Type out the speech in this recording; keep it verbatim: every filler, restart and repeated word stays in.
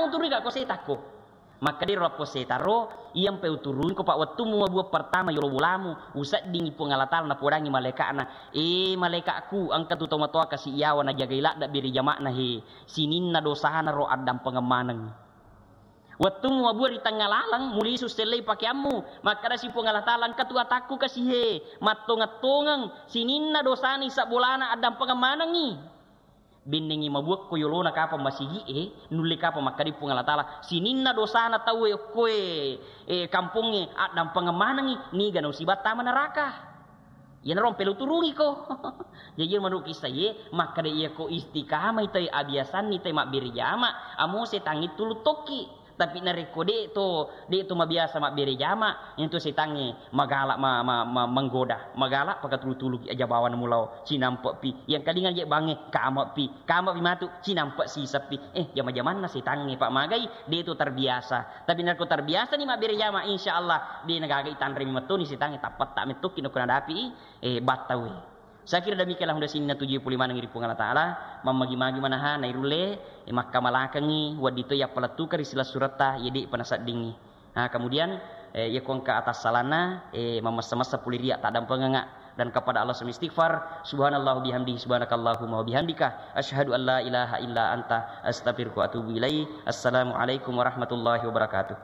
Uturu ga ko setakko. Makkeda ro lappo setang ro, iya mpe uturungko, Pak, wettummu mabuang pertama yolo bolamu, useddingi Puang Allah Taala napodangi malaika'na, "Eh, malaika'ku, engka tu tomatoa kasi iyawa najagai ladde biri jama'na he, sininna dosana ro addampengeng maneng." Wettummu mabuang ri tengnga laleng, mulisu sellei pakeammu, makkedasi Puang Allah Taala, "Engka tu atakku kasi he, mattongeng-tongeng, sininna dosana isabbolana addampengeng manengngi." Bennengngi mabuakko yolona kapang masigi'e, nulle kapang makkeda Puang Allah Taala, "Sininna dosana tauwe okkoe, eh, kampongnge addampengeng manengngi, niga nausiba tama neraka." Iyanaro mpe uturungiko. Jaji menurut kisah ye, makkeda iyako istiqamah itai, abiasanni itai mabbere jama, amo setangnge tulu tokki. Tapi narekko de to, de to mabiasa mabbere jama, itu setangnge magala ma, ma, ma, menggoda, magala pakatulu-tuluki aja bawana mulao, cinampe'pi. Yang kalingan je bangnge, kame'pi, kame'pi matu, cinampe siseppi. Eh, jama-jamanna setangnge, Pak, magai, de to terbiasa. Tapi narekko terbiasa ni mabbere jama, insya Allah, de nagaga itanremi mettoni setangnge, tappetta mettoki nako nadapi, eh, battawe. Saya kira demikianlah hundasing natuju pole maneng ri Puang Allah Taala, mammagi-magi manaha nairulle, eh, makkamalakengngi, wedding to yappalettukeng ri silessuretta, ye de'pa naseddingngi. Nah, kemudian, eh, yako engka atassalanna, eh, mammessa-messa pole ria taddampengengnga dan kepada Allah semi istighfar, subhanallah bihamdi, subhanakallahumma wa bihamdika, asyhadu an la ilaha illa anta, astaghfiruka wa atubu ilaik. Assalamualaikum warahmatullahi wabarakatuh.